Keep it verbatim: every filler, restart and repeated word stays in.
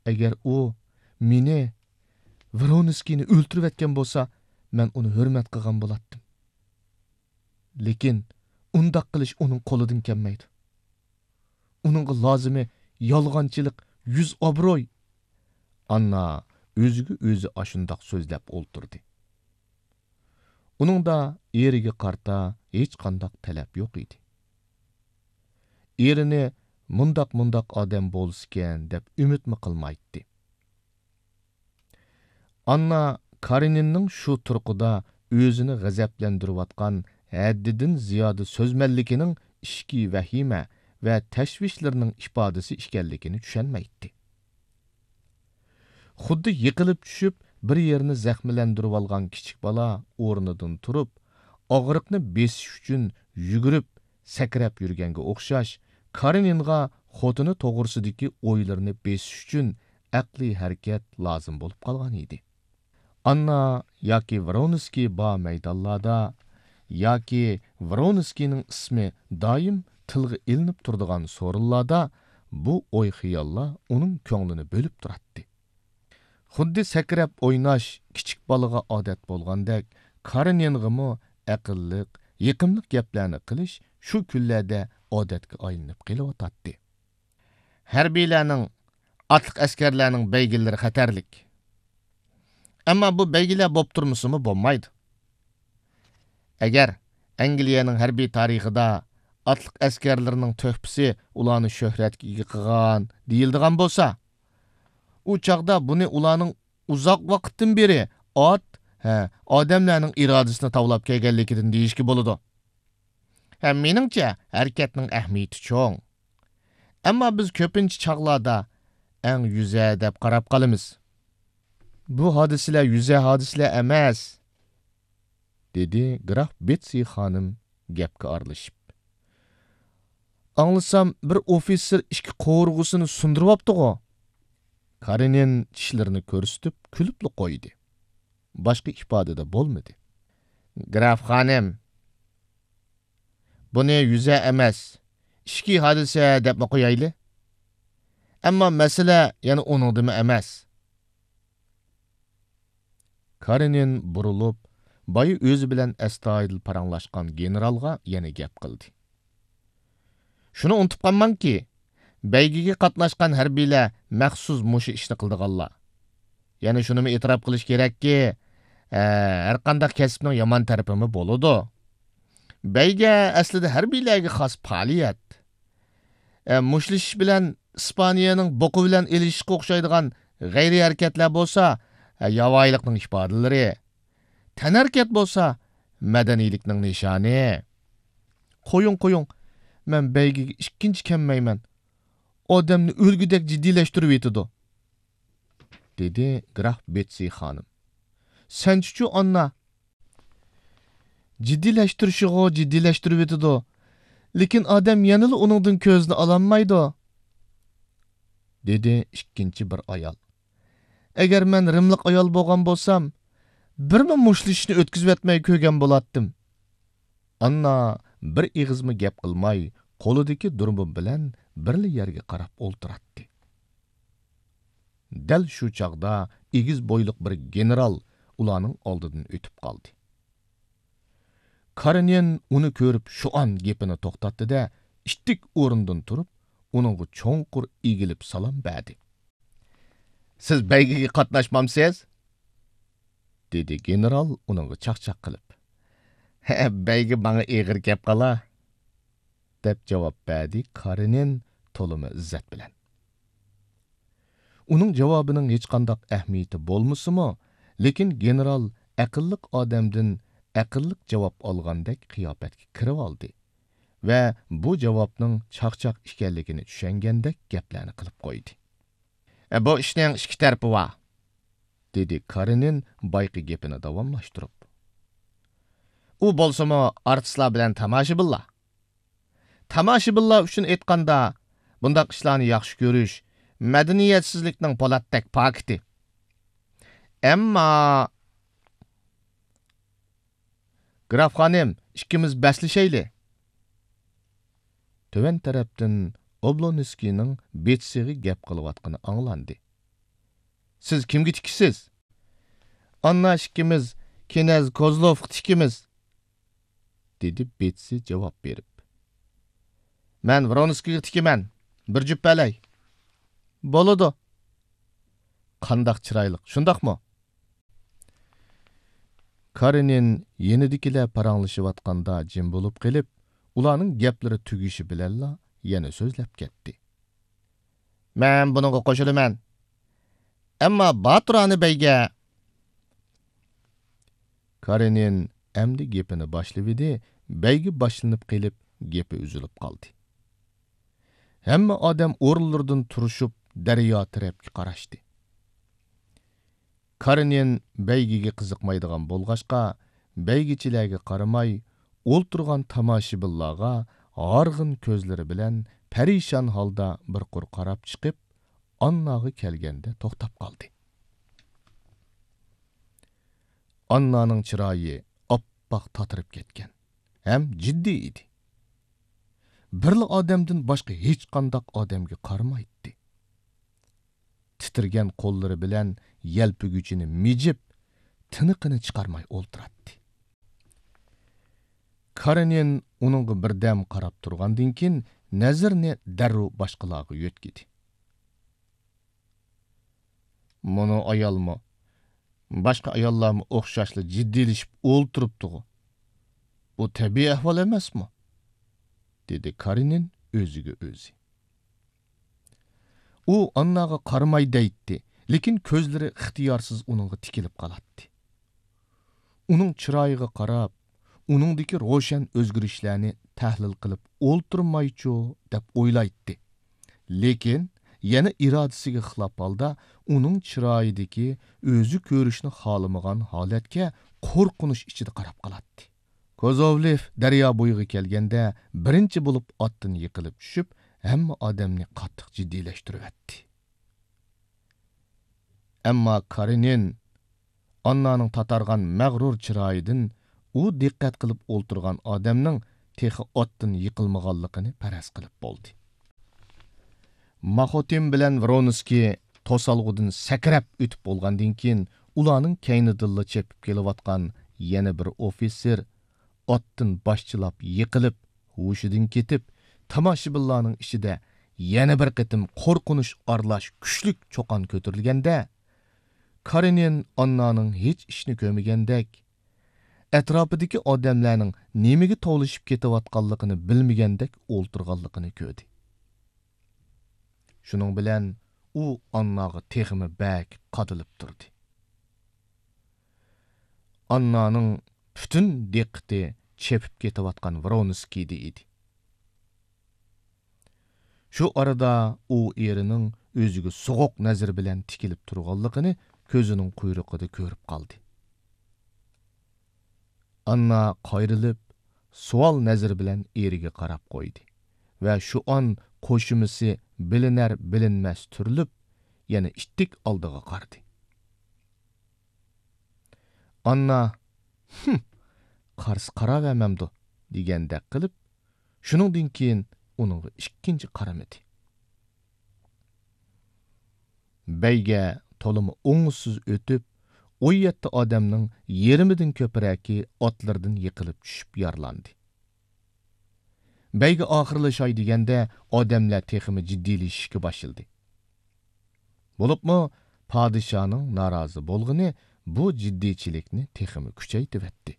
ئەگەر ئۇ مېنى، ۋرونسكىينى ئۆلتۈرۈۋەتكەن بولسا، مەن ئۇنى ھۆرمەت قىلغان بولاتتىم. لېكىن ئۇنداق قىلىش ئۇنىڭ قولىدىن كەلمەيدۇ. ئۇنىڭغا لازىمى يالغانچىلىق، يۈز ئابروي. ئاننا ئۆزىگە ئۆزى ئاشۇنداق سۆزلەپ ئولتۇردى. ئۇنىڭدا ئېرىگە قارىتا ھېچقانداق تەلەپ يوق ئىدى. ئېرىنى مۇنداق-مۇنداق ئادەم بولسىكەن دەپ ئۈمىدمۇ قىلمايتتى. ئاننا كارېنىننىڭ شۇ تۇرقىدا ئۆزىنى غەزەپلەندۈرۈۋاتقان ھەددىدىن زىيادە سۆزمەنلىكىنىڭ ئىچكى ۋەھىمە ۋە تەشۋىشلىرىنىڭ ئىپادىسى ئىكەنلىكىنى چۈشەنمەيتتى. خۇددى يىقىلىپ چۈشۈپ، بىر يېرىنى زەخىملەندۈرۈۋالغان كىچىك بالا ئورنىدىن تۇرۇپ، ئاغرىقنى بېسىش ئۈچۈن يۈگۈرۈپ، سەكرەپ يۈرگەنگە ئوخشاش، كارېنىنغا خوتۇنى توغرىسىدىكى ئويلىرىنى بېسىش ئۈچۈن ئەقلىي ھەرىكەت لازىم بولۇپ قالغان ئىدى. ئاننا ياكى ۋرونسكىي بار مەيدانلاردا، ياكى ۋرونسكىينىڭ ئىسمى دائىم تىلغا ئېلىنىپ تۇرىدىغان سورۇنلاردا بۇ ئوي-خىياللار ئۇنىڭ كۆڭلىنى بۆلۈپ تۇراتتى. خۇددى سەكرەپ ئويناش كىچىك بالىغا ئادەت بولغاندەك، كارېنىنغىمۇ ئەقىللىق، يېقىملىق گەپلەرنى قىلىش شۇ كۈنلەردە ئادەتكە ئايلىنىپ قېلىۋاتاتتى. ھەربىيلەرنىڭ، ئاتلىق ئەسكەرلەرنىڭ بەيگىلىرى خەتەرلىك. ئەمما بۇ بەيگىلەر بوپ تۇرمىسىمۇ بولمايدۇ. ئەگەر ئەنگلىيەنىڭ ھەربىي تارىخىدا ئاتلىق ئەسكەرلىرىنىڭ تۆھپىسى ئۇلارنى شۆھرەتكە ئىگە قىلغان دېيىلىدىغان بولسا، ئۇ چاغدا بۇنى ئۇلارنىڭ ئۇزاق ۋاقىتتىن بېرى ئات، ھە، ئادەملەرنىڭ ئىرادىسىنى تاۋلاپ كەلگەنلىكىدىن دېيىشكە بولىدۇ. ھە، مېنىڭچە، ھەرىكەتنىڭ ئەھمىيىتى چوڭ. ئەمما بىز كۆپىنچە چاغلاردا ئەڭ يۈزە دەپ قاراپ قالىمىز. بۇ ھادىسىلەر يۈزە ھادىسىلەر ئەمەس، دېدى گراف بېتسى خانىم گەپكە ئارىلىشىپ. ئاڭلىسام، بىر ئوفىتسېر ئىككى قوۋۇرغىسىنى سۇندۇرۇۋاپتىغۇ؟ كارېنىن چىشلىرىنى كۆرسىتىپ كۈلۈپلا قويدى. باشقا ئىپادىدە بولمىدى. گراف خانىم، بۇنى يۈزە ئەمەس، ئىچكى ھادىسە دەپمۇ قويايلى. ئەمما مەسىلە يەنە ئۇنىڭدىمۇ ئەمەس. كارېنىن بۇرۇلۇپ، بايا ئۆزى بىلەن ئەستايىدىل پاراڭلاشقان گېنېرالغا يەنە گەپ قىلدى. شۇنى ئۇنتۇپ قالماڭكى، بەيگىگە قاتناشقان ھەربىيلەر مەخسۇس مۇشۇ ئىشنى قىلىدىغانلار. يەنە شۇنىمۇ ئېتىراپ قىلىش كېرەككى، ھە، ھەرقانداق كەسىپنىڭ يامان تەرىپىمۇ بولىدۇ. بەيگە ئەسلىدە ھەربىيلەرگە خاس پائالىيەت. ئە، مۇشتلىشىش بىلەن ئىسپانىيەنىڭ بوقا بىلەن ئېلىشىشقا ئوخشايدىغان غەيرىي ھەرىكەتلەر بولسا، ئە، ياۋايىلىقنىڭ ئىپادىلىرى. تەنھەرىكەت بولسا مەدەنىيلىكنىڭ نىشانى. قويۇڭ، قويۇڭ، مەن بەيگىگە ئىككىنچى كەلمەيمەن. ئادەمنى ئۆلگۈدەك جىددىيلەشتۈرۈۋېتىدۇ، دېدى گراف بېتسى خانىم. سەنچىچۇ، ئاننا؟ جىددىيلەشتۈرۈشىغۇ جىددىيلەشتۈرۈۋېتىدۇ، لېكىن ئادەم يەنىلا ئۇنىڭدىن كۆزىنى ئالالمايدۇ، دېدى ئىككىنچى بىر ئايال. ئەگەر مەن رىملىق ئايال بولغان بولسام، بىرمۇ مۇشتلىشىشنى ئۆتكۈزۈۋەتمەي كۆرگەن بولاتتىم. ئاننا بىر ئېغىزمۇ گەپ قىلماي، قولىدىكى دۇربۇن بىلەن بىرلا يەرگە قاراپ ئولتۇراتتى. دەل شۇ چاغدا ئېگىز بويلۇق بىر گېنېرال ئۇلارنىڭ ئالدىدىن ئۆتۈپ قالدى. كارېنىن ئۇنى كۆرۈپ شۇئان گېپىنى توختاتتى-دە، ئىتتىك ئورنىدىن تۇرۇپ، ئۇنىڭغا چوڭقۇر ئېگىلىپ سالام بەردى. سىز بەيگىگە قاتناشمامسىز؟ دېدى گېنېرال ئۇنىڭغا چاقچاق قىلىپ. ھە، بەيگە ماڭا ئېغىر كەپ قالا، دەپ جاۋاب بەردى كارېنىن تولىمۇ ئىززەت بىلەن. ئۇنىڭ جاۋابىنىڭ ھېچقانداق ئەھمىيىتى بولمىسىمۇ، لېكىن گېنېرال ئەقىللىق ئادەمدىن ئەقىللىق جاۋاب ئالغاندەك قىياپەتكە كىرىۋالدى ۋە بۇ جاۋابنىڭ چاقچاق ئىكەنلىكىنى چۈشەنگەندەك گەپلەرنى قىلىپ قويدى. ئە، بۇ ئىشنىڭ ئىككى تەرىپى بار، دېدى كارېنىن بايىقى گېپىنى داۋاملاشتۇرۇپ. ئۇ بولسىمۇ ئارتىسلار بىلەن تاماشىبىنلار. تاماشىبىنلار ئۈچۈن ئېيتقاندا، بۇنداق ئىشلارنى ياخشى كۆرۈش مەدەنىيەتسىزلىكنىڭ پولاتتەك پاكىتى. ئەمما، گراف خانىم، ئىككىمىز بەسلىشەيلى. تۆۋەن تەرەپتىن ئوبلونسكىينىڭ بېتسىغا گەپ قىلىۋاتقىنى ئاڭلاندى. سىز كىمگە تىكىشسىز؟ ئاننا ئىككىمىز كىنەز كوزلوفقا تىكىمىز، دېدى بېتسى جاۋاب بېرىپ. مەن ۋرونسكىيغا تىكىمەن، بىر جۈپ بەلەي. بولىدۇ. قانداق چىرايلىق، شۇنداقمۇ؟ كارېنىن يېنىدىكىلەر پاراڭلىشىۋاتقاندا جىم بولۇپ قېلىپ، ئۇلارنىڭ گەپلىرى تۈگىشى بىلەنلا يەنە سۆزلەپ كەتتى. مەن بۇنىڭغا قوشۇلىمەن. ئەمما باتۇرانى بەيگە. كارېنىن ئەمدى گېپىنى باشلىۋىدى، بەيگە باشلىنىپ قېلىپ، گېپى ئۈزۈلۈپ قالدى. ھەممە ئادەم ئورۇنلىرىدىن تۇرۇشۇپ، دەريا تەرەپكە قاراشتى. كارېنىن بەيگىگە قىزىقمايدىغان بولغاچقا، بەيگىچىلەرگە قارىماي، ئولتۇرغان تاماشىبىنلارغا ھارغىن كۆزلىرى بىلەن پەرىشان ھالدا بىر قۇر قاراپ چىقىپ، ئانناغا كەلگەندە توختاپ قالدى. ئاننانىڭ چىرايى ئاپئاق تاتىرىپ كەتكەن ھەم جىددىي ئىدى. بىرلا ئادەمدىن باشقا ھېچقانداق ئادەمگە قارىمايتتى. تىترىگەن قوللىرى بىلەن يەلپۈگۈچىنى مىجىپ، تىنىقىنى چىقارماي ئولتۇراتتى. كارېنىن ئۇنىڭغا بىردەم قاراپ تۇرغاندىن كېيىن، نەزىرىنى دەررۇ باشقىلارغا يۆتكىدى. مۇنۇ ئايالمۇ، باشقا ئاياللارمۇ ئوخشاشلا جىددىيلىشىپ ئولتۇرۇپتىغۇ. بۇ تەبىئىي ئەھۋال ئەمەسمۇ؟ دېدى كارېنىن ئۆزىگە ئۆزى. ئۇ ئانناغا قارىماي دەيتتى، لېكىن كۆزلىرى ئىختىيارسىز ئۇنىڭغا تىكىلىپ قالاتتى. ئۇنىڭ چىرايىغا قاراپ، ئۇنىڭدىكى روشەن ئۆزگىرىشلەرنى تەھلىل قىلىپ ئولتۇرمايچۇ دەپ ئويلايتتى. لېكىن يەنە ئىرادىسىگە خىلاپ ھالدا ئۇنىڭ چىرايىدىكى ئۆزى كۆرۈشنى خالىمىغان ھالەتكە قورقۇنچ ئىچىدە قاراپ قالاتتى. كوزوۋلېف دەريا بويىغا كەلگەندە، بىرىنچى بولۇپ ئاتتىن يىقىلىپ چۈشۈپ، ھەممە ئادەمنى قاتتىق جىددىيلەشتۈرۈۋەتتى. ئەمما كارېنىن ئاننانىڭ تاتارغان مەغرۇر چىرايىدىن ئۇ دىققەت قىلىپ ئولتۇرغان ئادەمنىڭ تېخى ئاتتىن يىقىلمىغانلىقىنى پەرەز قىلىپ بولدى. ماخوتىن بىلەن ۋرونسكىي توسالغۇدىن سەكرەپ ئۆتۈپ بولغاندىن كېيىن، ئۇلارنىڭ كەينىدىنلا چېپىپ كېلىۋاتقان يەنە بىر ئوفىتسېر ئاتتىن باشچىلاپ يىقىلىپ، ھوشىدىن كېتىپ، تاماشىبىنلارنىڭ ئىچىدە يەنە بىر قېتىم قورقۇنچ ئارىلاش كۈچلۈك چۇقان كۆتۈرۈلگەندە، كارېنىن ئاننانىڭ ھېچ ئىشنى كۆرمىگەندەك، ئەتراپىدىكى ئادەملەرنىڭ نېمىگە توۋلىشىپ كېتىۋاتقانلىقىنى بىلمىگەندەك ئولتۇرغانلىقىنى كۆردى. شۇنىڭ بىلەن ئۇ ئانناغا تېخىمۇ بەك قادىلىپ تۇردى. ئاننانىڭ پۈتۈن دىققىتى چېپىپ كېتىۋاتقان ۋرونسكىيدە ئىدى. شۇ ئارىدا ئۇ ئېرىنىڭ ئۆزىگە سوغۇق نەزىرى بىلەن تىكىلىپ تۇرغانلىقىنى كۆزىنىڭ قۇيرۇقىدا كۆرۈپ قالدى. ئاننا قايرىلىپ، سوئال نەزىرى بىلەن ئېرىگە قاراپ قويدى ۋە شۇ ئان قوشۇمىسى بىلىنەر-بىلىنمەس تۈرۈلۈپ، يەنە ئىتتىك ئالدىغا قارىدى. ئاننا، «ھىم، قارىسا قاراۋەرمەمدۇ؟» دېگەندەك قىلىپ، شۇنىڭدىن كېيىن ئۇنىڭغا ئىككىنچى قارىمىدى. بەيگە تولىمۇ ئوڭۇشسىز ئۆتۈپ، ئون يەتتە ئادەمنىڭ يېرىمىدىن كۆپرەكى ئاتلىرىدىن يىقىلىپ چۈشۈپ يارىلاندى. بەيگە ئاخىرلىشاي دېگەندە، ئادەملەر تېخىمۇ جىددىيلىشىشكە باشلىدى. بولۇپمۇ پادىشاھنىڭ نارازى بولغىنى بۇ جىددىيچىلىكنى تېخىمۇ كۈچەيتىۋەتتى.